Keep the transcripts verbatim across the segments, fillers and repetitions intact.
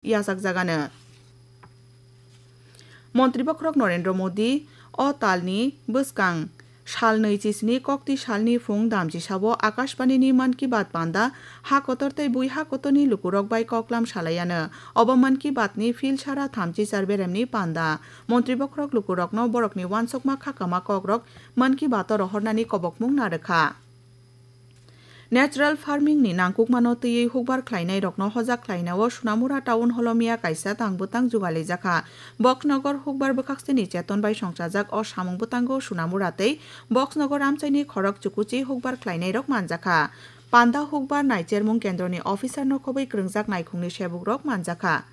yachakjagano. Montri bokhorok Narendra Modi o talni bwskang sal nwi chisini kokti salni phung damchisao Akashbanini Mann Ki Baat panda ha kotor tei bui ha kotorni lukurok bai koklam salaiano. Obo Mann Ki Baatni phil sara thamchi char beremni panda. Montri bokhorok lukurokno borokni uansukma khakama kokrok Mann Ki Baato rohornani kobokmung narwkha. Natural farming ni nangkukmano twiwi hukbar khlainairokno hojak khlainao Sunamura Town Hall o miya kaisa tang bwtang jugalijakha. Boxnogor hukbar bwkhakseni cheton bai songchajak o samung bwtango Sunamura tei Boxnogor amchaini khorok chukuchi hukbar khlainairok manjakha. Panda hukbar naichermung kendroni officer no khobwi kwrwngjak naikhungni sebukrok manjakha.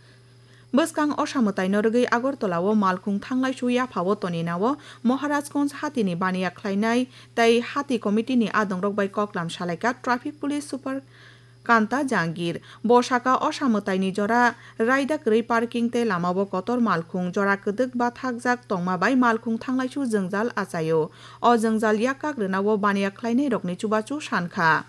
Bwskang osa mwtaino rwgwi Agartala o malkhung thanglaisu yaphao toninao Maharajganj hatini baniya khlainai tei hati committee ni adongrok bai koklam salaikha traffic police super Kanta Jangir. Bo saka osa mwtaini jora raida kwrwi parking tei lamao kotor malkhung jora kwdwk bathakjak tongma bai malkhung thanglaisu jwngjal achaio. O jwngjal yak kak rwnao baniya khlainairokni chubachu sankha.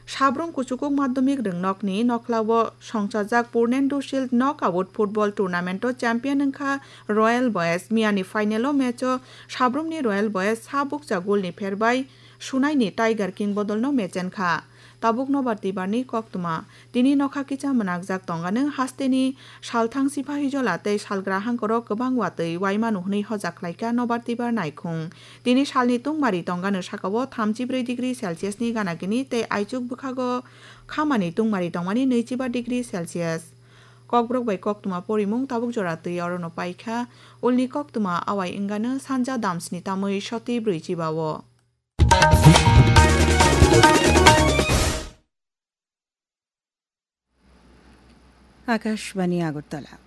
Sabrum kuchukuk madhyamik rwngnokni nokhlao songchajak Purnendu Shield Knockout Football Tournament o champion wngkha Royal Boys. Miyani final o match o sabrumni Royal Boys sa bukcha goal ni pherbai sunaini Tiger King bodolno mechenkha. Tabuk nobar twibarni koktwma. Tini nokha kisa mwnakjak tongano hasteni salthang sipahijola tei salgra hangkoro kwbang watwi waimano hwnwi hojak khlaikha nobar twibar naikhung. Tini salni tungmari tongano sakao thamchi brwi degree Celsius ni gana gini tei aichuk bwkhago khamani tungmari tongmani nwichiba degree Celsius. Kokborok bai koktwma porimung tabuk jora twi orono paikha. Ulni koktwma awai wngano sanja damsni tamwi soti brwichiba o. Akashbani Agartala.